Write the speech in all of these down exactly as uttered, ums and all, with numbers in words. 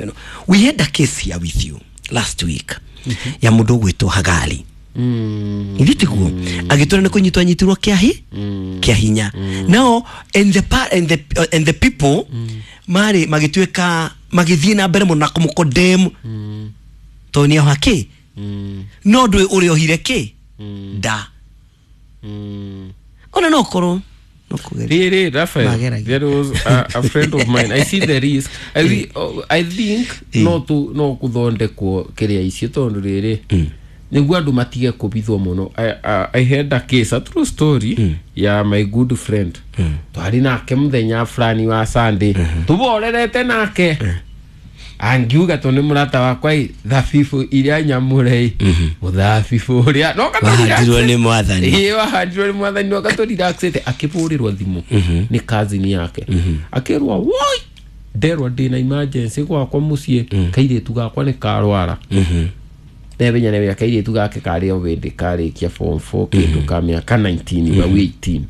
ndeto ĩno. We had a case here with you last week ya mũndũ ũgwĩtwo Hagali. Ithuĩ tiguo agĩtwĩra nĩ kũnyitwo anyitirwo kĩa kĩa hinya. Now and the pa and the and the people marĩ magĩtuĩka magĩthiĩ na mbere mũno na kũmũkondem tondũ nĩ oha kĩ no ndũĩ ũrĩa ohire kĩ nda ona no korwo no kũgeria. Really, Raphael, Mageragia. there was a, a friend of mine. I see the risk. I, re, oh, I think Eh. no tu no kuthondekwo kiria icio tondu riri niguo andu matige kubithwo muno. I, I, I had a case, a true story ya my good friend. Twari nake muthenya fulani wa Sunday tuborerete nake angiuga tondu ni murata wakwa i thabibu iria nyamure i muthabibu uria no Wahandirwo nĩ Mwathani. Ĩĩ, wahandirwo nĩ Mwathani no gatũrelaxĩte akĩbũrĩrwo thimũ nĩ cousin yake akĩrwo woi nderwo ndĩna emergency gwakwa mũciĩ kairĩtu gakwa nĩ karwara nebenya nebenya kairĩtu gake karĩ o hĩndĩ karĩkia form four kĩndũ ka mĩaka nineteen wa eighteen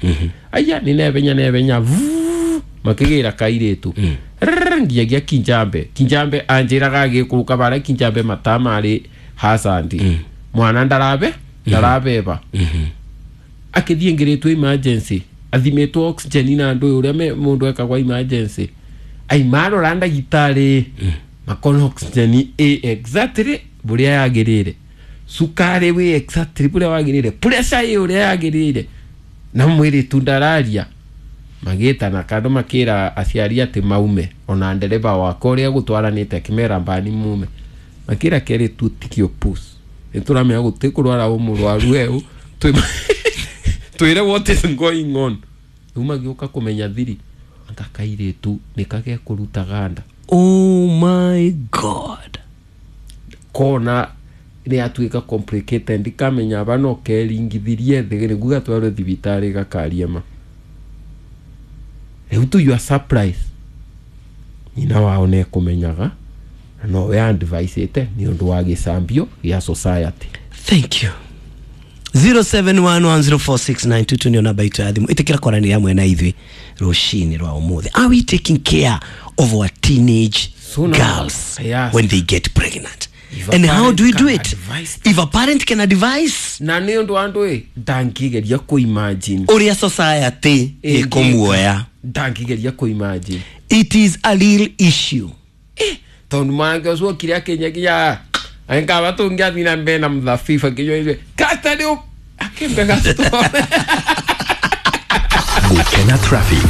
aya nĩ nebenya nebenya vuu, makĩgĩra kairĩtu Rrrr, nginyagia Kinjambe. Kinjambe anjĩraga agĩkũrũka barĩa Kinjambe mataa marĩ hasandi mwana ndarabe ndarabeba akĩthiĩ ngĩrĩtwo emergency athimĩtwo oxygen na andũ ũrĩa me- mũndũ ekagwa emergency aimarora ndagĩtarĩ makona oxygen ĩ exactly bũrĩa yagĩrĩire cukari wĩ exactly bũrĩa wagĩrĩire pressure ĩ ũrĩa yagĩrĩire na mwĩrĩtu ndararia magĩtana kando makĩra aciari atĩ maume ona ndereba wakwa ũrĩa gũtwaranĩte akĩmera mbani mume makĩra kerĩ tutikio pus nĩtũramenya gũtĩ kũrwara ũ mũrwaru eũ twĩre what is going on rĩu magĩũka kũmenya thiri anga kairĩtu nĩ kagekũruta ganda. Oh my God. Kona nĩ atuĩka complicated ndikamenya aba no keringithirie thĩ nĩguo gatwarwo thibitarĩ gakaria ma rĩu to your surprise nyina wao nĩ ekũmenyaga na nowe adviceĩte nĩ ũndũ wa gĩcambio gĩa society. Thank you. zero seven one one zero four six nine two two nĩyo namba itũ ya thimũ ĩtĩkĩra kwaranĩria hamwe na ithuĩ rũcinĩ rwa ũmũthĩ. Are we taking care of our teenage So now, girls yes. when they get pregnant? If a And how parent do we do can it? advise If a parent can advise na nĩ ũndũ wa andũ ĩ ndangĩgeria kũ-imagine ũrĩa society ĩkũmuoya. Ndangĩgeria kũ-imagine. It is a real issue. Tondũ mwanake ũcio okire akĩnyagia angaba tũngĩathiĩ na mbere na mũthabibu akĩnyua ithuĩ kasta nĩ akĩmbe gastore. Gukena traffic.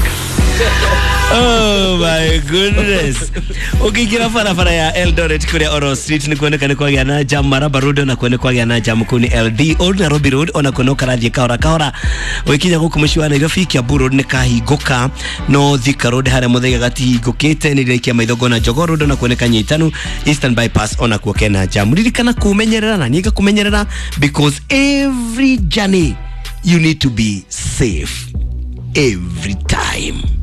Oh my goodness. Ũkĩingĩra barabara ya Eldoret kũrĩa Oro Street nĩ kuoneka nĩ kwagĩa na jam. Maraba Road ona kuo nĩ kwagĩa na jam kũu nĩ L D. Old Nairobi Road ona kuo no karathiĩ kahora kahora. Ũgĩkinya gũkũ mũciĩ wa Nairobi, Kiambu Road nĩ kahingũka no Thika Road harĩa Muthaiga gatihingũkĩte. Nĩ ndĩraikia maitho ngona Jogoo Road ona kuo nĩ kanyitanu. Eastern Bypass ona kuo kena jam. Ririkana kũmenyerera na niĩ ngakũmenyerera because every journey you need to be safe every time.